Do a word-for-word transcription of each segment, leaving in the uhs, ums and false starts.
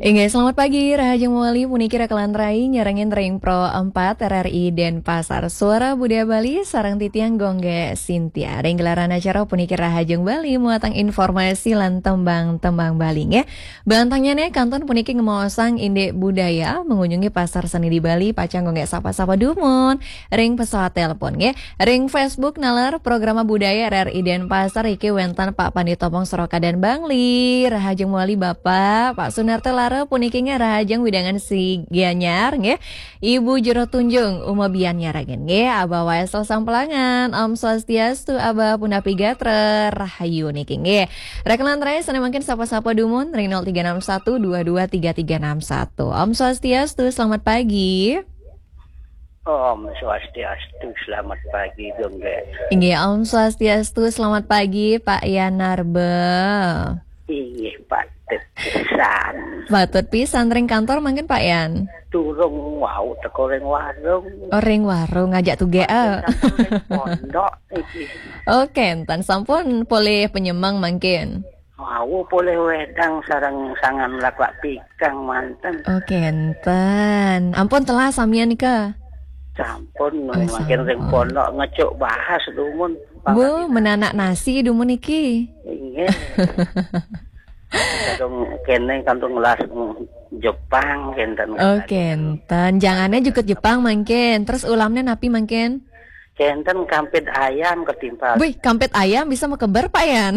Inggih, selamat pagi, rahajeng mawali puniki Raka lan Rai nyarengin ring Pro empat R R I Denpasar. Suara Budaya Bali sareng titiang Gung Gé Sintia. Ring gelaran acara puniki Rahajeng Bali muatan informasi lan tembang-tembang Bali nggih. Bantangnyané kantun puniki ngemaosang indik budaya, mengunjungi pasar seni di Bali, pacang Gung Gé sapa-sapa dumun ring pesawat telepon nggih. Ring Facebook naler Programa Budaya R R I Denpasar iki wénten Pak Pandita Pong Soroka dan Bangli. Rahajeng mawali Bapak, Pak Sunarta Lara puniki nggih rahajeng wewidangan si Gianyar nggih. Ibu Jero Tunjung, Uma Bian nyarengin nggih, Abah Waisel Sampelangan, Om Swastiastu, Abah punapi gatra, rahayu niki nggih. Raka lan Rai sané mangkin sapa-sapa dumun ring nol tiga enam satu dua dua tiga tiga enam satu. Om Swastiastu, selamat pagi. Om Swastiastu, selamat pagi, Gung Gé. Inggih, Om Swastiastu, selamat pagi, Pak Yanarba. Inggih, patut pisan. Patut pisan, ring kantor mangkin, Pak Yan? Durung wau teka ring warung. Oh, ring warung, ngajak tugé, ah. Ring pondok iki. Oh, kénten, sampun polih penyemeng mangkin? Wau polih wedang sareng sangan laklak pikang manten. Oh, kénten. Ampun telah samian nika? Sampun, oh, mangkin ring sampun. Pondok ngecuk bahas dumun. Bu, menanak nasi dumun iki. Inggih. Kadung kéné, kadung ngelas Jepang kénten. Oh, kénten. Jangané jukut Jepang mangkin. Terus ulamné napi mangkin? Kénten kampit ayam ketimpal. Wih, kampit ayam bisa makeber, Pak Yan?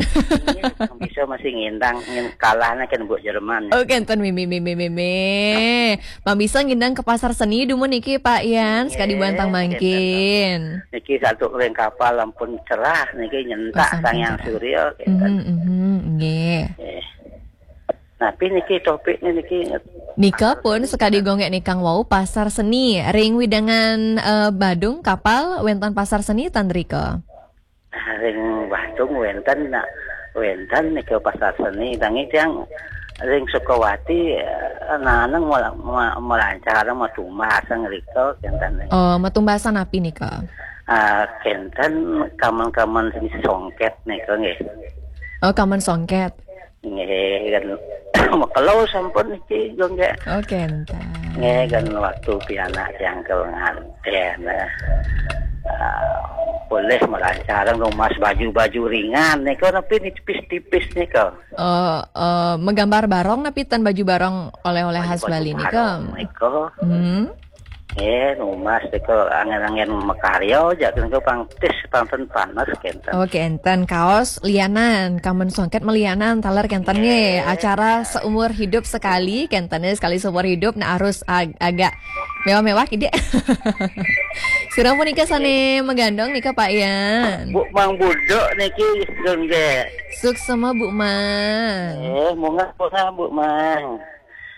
Iya, bisa masih ngindang, ngin-, kalahnya kan buat Jerman. Oh, kénten mimi, mimi, mimi. Mami bisa ngindang ke pasar seni dumun niki, Pak Yan, sekali nggih, bantang mangkin. Niki satu ring kapal ampun cerah, niki nyentak. Oh, sampun sang Hyang cerah. Surya, kénten. Mhm, mhm, nggih. Nggih. Napi niki topiknya niki? Nika pun sekadi Gung Gé nikang wau pasar seni. Ring wewidangan, eh, Badung kapal wénten pasar seni ten rika? Ring Badung wénten, nak, wénten nika pasar seni. Nanging tiang ring Sukawati, eh, naneng mela-, ma-, melancar matumbas ngrika kénten. Oh, matumbasan napi nika? Ah, kénten kamen-kamen seni songket nika nggih. Oh, kamen songket. Nggih, kan makelo sampun niki, Gung Gé. Oh, kénten. Nggih, kan waktu pianak tiang ke ngantén, eh, ah, polih melancarang numbas baju-baju ringan nika, napi ni tipis-tipis nika. Oh, eh, magambar barong napi ten baju barong oleh-oleh khas Bali nika? Baju barong nika. Hmm. Eh, numbas nika anggén-anggén makarya, jak nika pang tis, pang ten panes kénten. Oh, kénten. Kaos lianan, kamen songket malianan, taler kénten nggih. Nggih. Acara seumur hidup sekali, kénten nggih, sekali seumur hidup, nah harus ag-, agak mewah-mewah kidik. Sira punika sané magandong nika, Pak Yan? Bu Mang Buduk niki, Gung Gé. Suksma, Bu Mang. Eh, munggah, munggah, Bu Mang.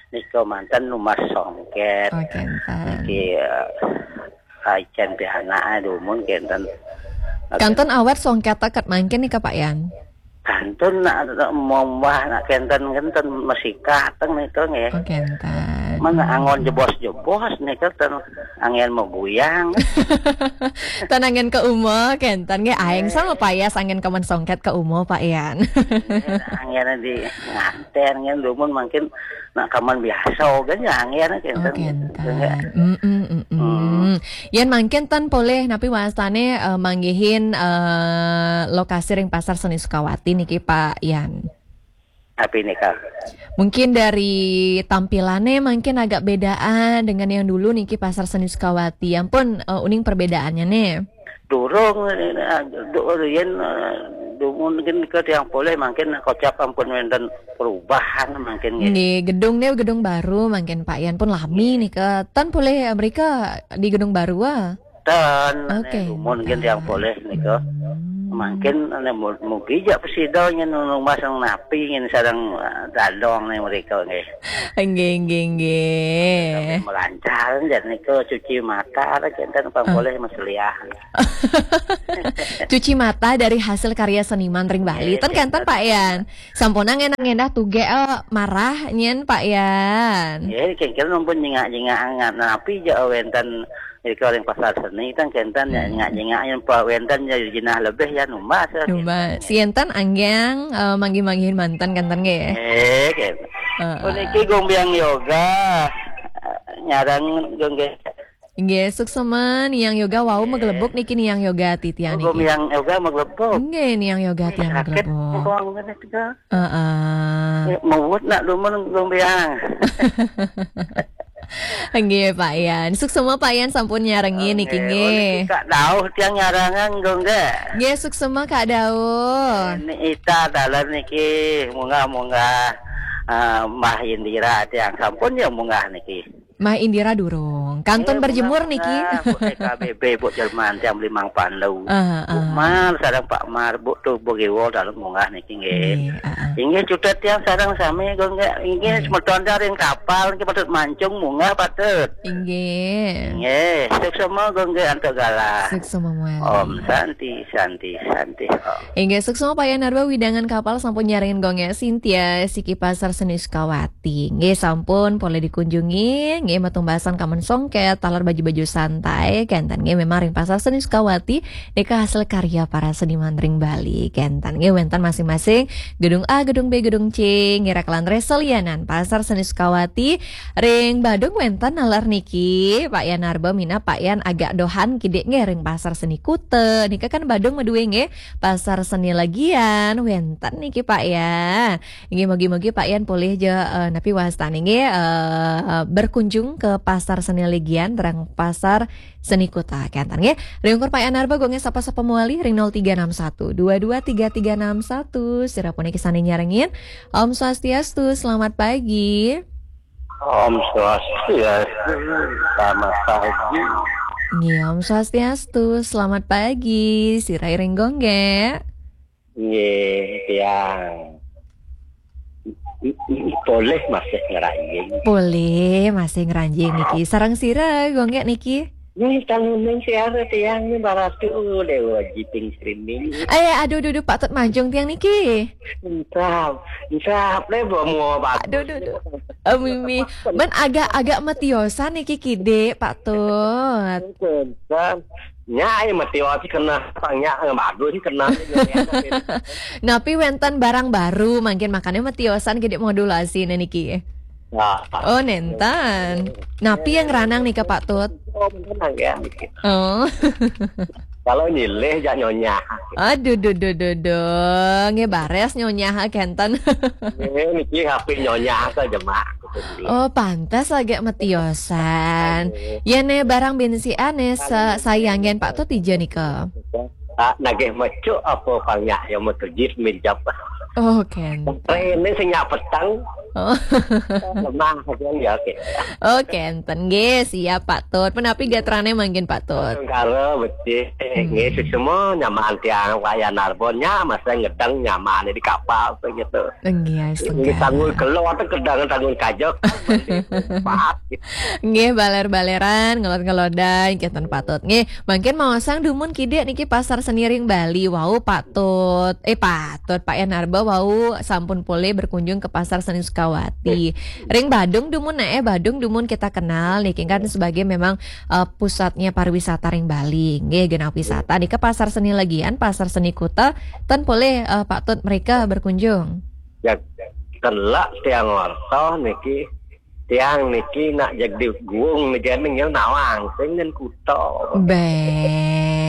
Nika manten numbas songket. Oh, kénten. Niki, eh, icén pianak, eh, dumun kénten. Kantun awet songket teket mangkin nika, Pak Yan? Kantun nak, nak mombah nak kénten, kénten masikat teng nika nggih. Oh, kénten. Mana anggon jebos-jebos nika ten anggén maguyang. Ten anggén ka uma, kénten nggih. Aing sama payas anggén kamen songket ka uma, Pak Yan. Nggih, anggén di ngantén nggih, dumun mangkin nak kamen biasa kan ya anggén kénten. Oh, kénten. Nggih. Mm-mm, mm-mm. Hmm. Yén mangkin ten polih napi wastané, eh, manggihin, eh, lokasi ring Pasar Seni Sukawati niki, Pak Yan? Napi nika? Mungkin dari tampilannya mungkin agak bedaan dengan yang dulu niki Pasar Seni Sukawati. Ampun, eh, uning perbedaannya nih. Durung, eh, du-, riyen, eh, du-, mungkin ke tiang polih mungkin kocap ampun wénten perubahan mungkin nggih. Nggih, gedung nih gedung baru mungkin Pak Yan pun lami. Nggih. Nika. Tan polih, eh, mereka di gedung baru, ah? Ten, oh, ane kénten. Dumun nggih tiang polih nika. Hmm. Mangkin ane mu-, mugi jak presida nyen numbas napi nyen sareng, eh, dadong nih mereka nggih. Nggih, nggih, nggih. Tapi melancar jan nika cuci mata lah kénten pang polih meseliah. Cuci mata dari hasil karya seniman ring Bali. Nggih, ten kénten, kénten. Pak Yan. Sampun ngenah-ngenah tuge, eh, marah nyen Pak Yan. Nggih, kengkil numpun nyingak-nyingak napi jak wénten Nika ring pasar seni kan kénten ya, hmm, nyingak-nyingak yen pa wénten ya jinah lebih ya numbas ya. Numbas. Kénten. Sienten anggiang, eh, manggih-manggihin manten kénten nggih. Eh, kénten. Heeh. Puniki Gombiang Yoga. Nyarang Gombiang. Nggih, suksma Niang Yoga wau maglebuk niki Niang Yoga titiang niki. Gombiang Yoga maglebuk. Nggih, Niang Yoga tiang maglebuk. Heeh. Mawut nak dumun Gombiang. Nggih, Pak Yan. Suksma Pak Yan sampun nyarengin niki nggih. Nggih, Kak Dauh tiang nyarengang nggih. Nggih, suksma Kak Dauh. Ni ita dalan niki munggah-munggah, eh, Mbah Indira tiang sampun ya munggah niki. Mbah Indira durung. Kantun berjemur niki. Munggah, Bu K B B, Bu Jerman tiang beli Mang Pandu. Ah, Bu Mar sareng Pak Mar, Bu tuh Bu Giwol dalam munggah niki nggih. Nggih, heeh. Inggih cutet tiang sareng sami nggih, inggih semeton ring kapal niki patut mancung munggah patut. Inggih. Nggih, suksma nggih antuk galah. Suksma muali. Om Santi, Santi, Santi, Om. Inggih, suksma Pak Yan Narba widangan kapal sampun nyarengin gongnya Sintia siki Pasar Seni Sukawati. Nggih, sampun boleh dikunjungi. Nggih, matumbasan kamen songket, taler baju-baju santai, kenten nggih memang ring Pasar Seni Sukawati. Nika hasil karya para seniman ring Bali. Kenten nggih wenten masing-masing gedung A, gedung B, gedung C, ngira kelan reselianan Pasar Seni Sukawati. Ring Badung wenten nalar niki, Pak Yan Narba minab Pak Yan agak dohan kidik nggih ring Pasar Seni Kuta. Nika kan Badung madue nggih, Pasar Seni Legian wenten niki Pak Yan. Nggih, mugi-mugi Pak Yan polih ja, eh, napi wastane nggih, eh, berkunjung ke Pasar Seni Legian, terang Pasar Seni Kuta. Kenten nggih. Ring ungkur Pak Yan Narba, gongnya sapa-sapa muali ring nol tiga enam satu dua dua tiga tiga enam satu. Sira puniki sane nyarengin. Om Swastiastu, selamat pagi. Om Swastiastu, selamat pagi. Nggih, Om Swastiastu, selamat pagi. Sira ring gongge. Nggih, tiang. Polih masih ngranjing. Polih masih ngranjing niki. Sareng sira, gongge niki? Nggih, tanguning siara tiang ni baratu Dewa Jiping Srining. Eh, aduh, duh, duh, patut manjung tiang niki. Entap, entap, le, bawa mua batu. Aduh, duh, duh. Eh, Mimi, ben agak-agak matiosan niki kidik, Pak Tut. Entap. Nya, eh, matiosan kena, tang nya, eh, bagus sih kena. Napi wenten barang baru, mungkin makanya matiosan kidik modulasi niki. Nah. Oh, nenten. Napi yang ranang nika, Pak Tut? Oh, nenten ya. Oh. Kalau nyilih, jak nyonyah. Aduh, duh, duh, duh, duh. Nggih bares nyonyah kenten. Nggih, niki H P nyonyah saja, Mak. Oh, pantas agak matiosan. Aduh. Ya, ne barang bensian, ne sa-, sayangin Pak Tut ija nika. Ah, nagih mecuk apa pang nyak ya mutujit minjap. Oh, kenten. Rene sing nyak petang. Oh. Lemah, kan, ya, oke. Oh, kenten. Nggih, siap, Pak Tut. Menapi gatrane mangkin, Pak Tut? Tengkara, becik. Hmm. Nggih, sesama nyamaan tiang Wayan Narbon, nya, masa ngedang nyamaan di kapal, begitu. Nggih, nggih, setengah. Tanggul kelor, tu kedang, tanggul kajak, kan, mandi, pahat, gitu. Nggih, baler-baleran, ngelod-ngelodan, kenten Pak Tut. Nggih, mangkin maosang dumun kidik niki Pasar Seni ring Bali. Wau, Pak Tut. Eh, Pak Tut, Pak Yan Narba wau sampun polih berkunjung ke Pasar Seni Sukawati. Ring Badung dumun, nah, eh, Badung dumun kita kenal niki kan sebagai memang, eh, pusatnya pariwisata ring Bali. Nggih, genah wisata. Nika Pasar Seni Legian, Pasar Seni Kuta, ten polih, eh, Pak Tut mereka berkunjung. Ya, kelak tiang warta niki. Tiang niki nak jeg di guung niki ning ya nawang sing ngen kuta. Be.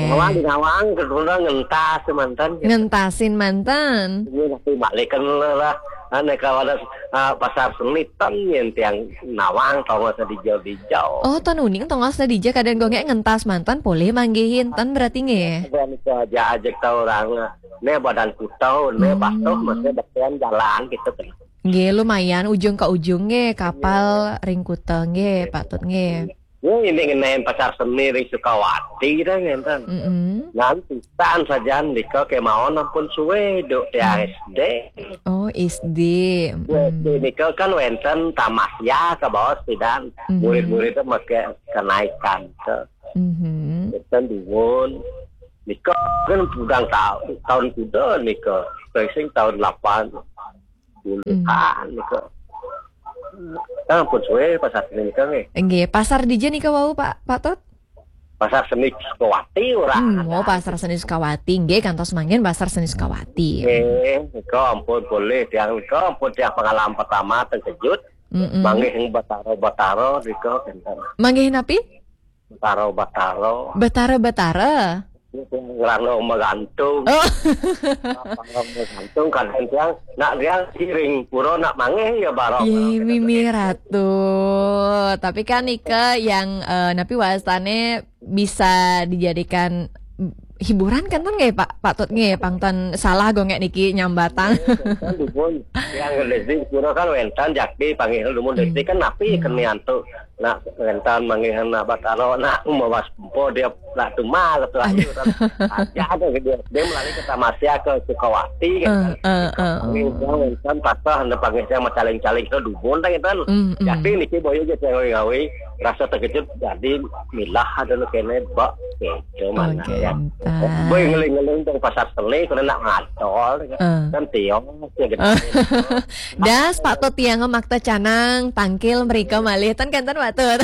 Nawang di nawang ke kuta ngentas mantan. Ngentasin mantan. Ini nanti balikan lah. Ane kawadas, ah, Pasar Seni ten yen tiang nawang tongos di jauh di jauh. Oh, ten uning tongos di jauh kadang gongek ngentas mantan polih manggihin ten berarti nggih. Dan itu aja ajak tahu orang. Ne badan kuta, ne Hmm. Batuh, maksudnya bagian jalan gitu kan. Nggih, lumayan ujung ke ujung nggih, kapal ring kuta nggih, Pak Tut nggih. Nggih, ini ngenain Pasar Seni ring Sukawati dah ngenten. Mm-mm. Nanti tan sajan nika kemawon ampun suwe duk tiang Hmm. S D. Oh, S D. Duk S D Mm. nika kan wenten tamasya ke bawah sidan. Mm-hmm. Murid-murid itu make kenaikan ke. Mm-hmm. Wenten dumun. Nika kan pudang ta-, tahun kuda nika. Sing tahun lapan puluhan Hmm. nika. Nah, ampun suwe Pasar Seni nika nggih. Nggih, pasar dija nika wau, Pak, Pak Tut? Pasar Seni Sukawati ora. Hmm, oh, ada. Pasar Seni Sukawati. Nggih, kantos mangkin Pasar Seni Sukawati. Nggih, nika ampun boleh tiang, nika ampun tiang pengalaman pertama terkejut. Mm-mm. Manggih ing Batara-Batara nika kinten. Manggih napi? Batara-Batara. Batara-Batara. Ngrano magantung. Oh. Batara magantung kadang tiang nak tiang siring pura nak manggih ya barok. Ye, mimi ratu. Tapi kan nika yang, eh, napi wastane bisa dijadikan hiburan kan, ten nggih, Pak, Pak Tut nggih, pang ten salah gongek niki nyambatang. Kan dipun, yang Leslie pura kan wenten jakti panggih dumun Leslie kan napi kenian tu nak wenten manggihan nak Batara nak mawas empo dia nak cuma ketua ayu kan. Aja ada gitu. Dia melalui ke Tamasya ke Sukawati kan. Eh, eh, eh, eh. Panggih dia wenten patah anda panggih dia macaling-caling ke dumun kan. Mm, mm. Jakti niki boyo je gawe-gawe rasa terkejut jadi milah ada lu kene bak gitu mana ya. Boy ngeling-ngeling teng pasar seni kena nak ngadol kan. Eh. Kan tiong ya gitu. Das Pak Tut tiang makta canang tangkil mereka malih ten kan ten Pak Tut.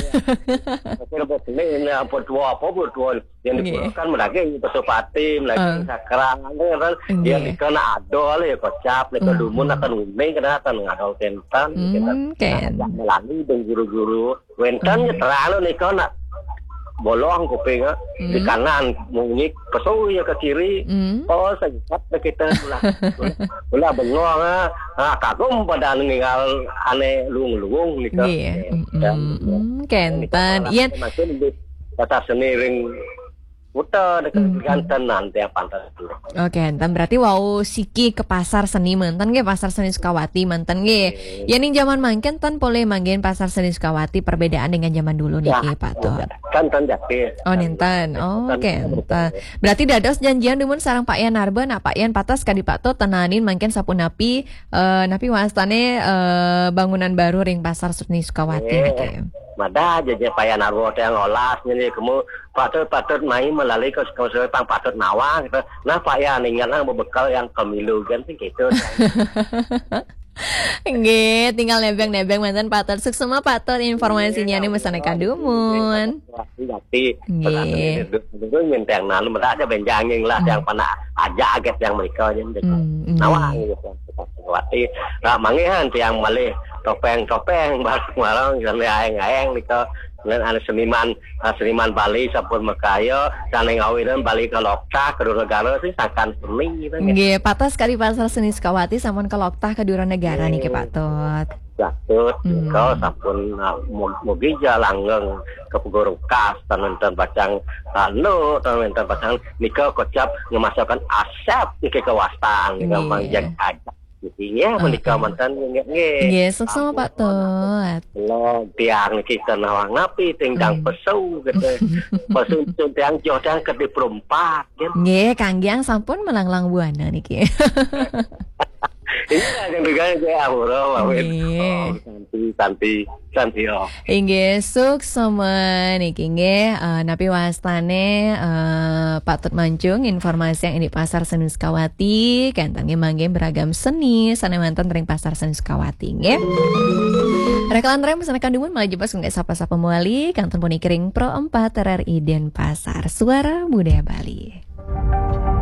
Oke, lepas seni ini apa tua apa apa tua yang diperlukan menagih Pasupati, menagih sakral kan. Dia nggih. Nika nak adol ya kocap, nika dumun akan uning kena akan ngadol kentan gitu. Hmm, ken. Nah, melalui dan guru-guru Wenten nyetralo nika nak bolong kuping, ah. Di kanan munyi pesu ya ke kiri. Oh, segat deh kita ulah. Ulah bengong, ah. Ah, kagum pada ninggal ane luung-luung nika. Nggih. Dan kenten. Yen makin di kata seni ring puta dekat ganten nanti apa. Oke, enten berarti wau siki ke pasar seni manten nggih, pasar seni Sukawati manten nggih. Oke. Ya ning zaman mangkin ten polih manggen pasar seni Sukawati perbedaan dengan zaman dulu niki, Pak Tot. Kan ten jati. Oh, nenten. Oke, enten. Berarti dados janjian dumun sareng Pak Yan Narba, nak Pak Yan patas kadi Pak Tot tenanin mangkin sapunapi, eh, napi wastane, eh, bangunan baru ring pasar seni Sukawati niki. Mada aja je Pak Yan Narba teh ngolas nyeni kemu patut-patut mai melalui ke sekolah pang patut nawang gitu. Nah, Pak Yan ingat lah bebekel yang kemilu kan sih gitu. Nggih, tinggal nebeng-nebeng manten Pak Tot. Suksma Pak Tot informasinya nih mesane kadumun. Tapi nggih. Itu nyenteng nanu mada aja benjanging lah yang pernah aja aget yang mereka aja. Nawang gitu. Berarti nah, mangihan tiang malih topeng-topeng barang-barang yang aeng-aeng gitu. Dengan ada seniman, ah, seniman Bali sampun makaya, sane ngawinan Bali ke Lokta, kedua negara sih sangkan seni gitu. Nggih, patas kali pasar seni Sukawati sampun ke Lokta kedua negara niki, Pak Tot. Patut, kau sampun, ah, mu-, mugi ja langgeng ke Pegurukas, tan wenten pacang anu, tan wenten pacang nika kocap ngemasakan asep niki kewastan, nika mangjak aja. Nggih, menika manten nggih. Nggih, suksma Pak Tot. Lo tiang niki nawang napi tinggang pesu gitu. Pesu tiang joh tiang ke di perumpak gitu. Nggih, kanggiang sampun melanglang buana niki. Iya, yang juga saya aura mawin. Nggih. Oh, santi, santi, santi oh. Inggih, suksma niki nggih, eh, napi wastane, eh, Pak Tut Mancung informasi yang ini pasar seni Sukawati, kenten nggih mangke beragam seni sane manten ring pasar seni Sukawati nggih. Rekelan rem sana kandumun malah jepas nggak sapa-sapa muali, kenten puniki ring Pro empat R R I Denpasar, Suara Budaya Bali.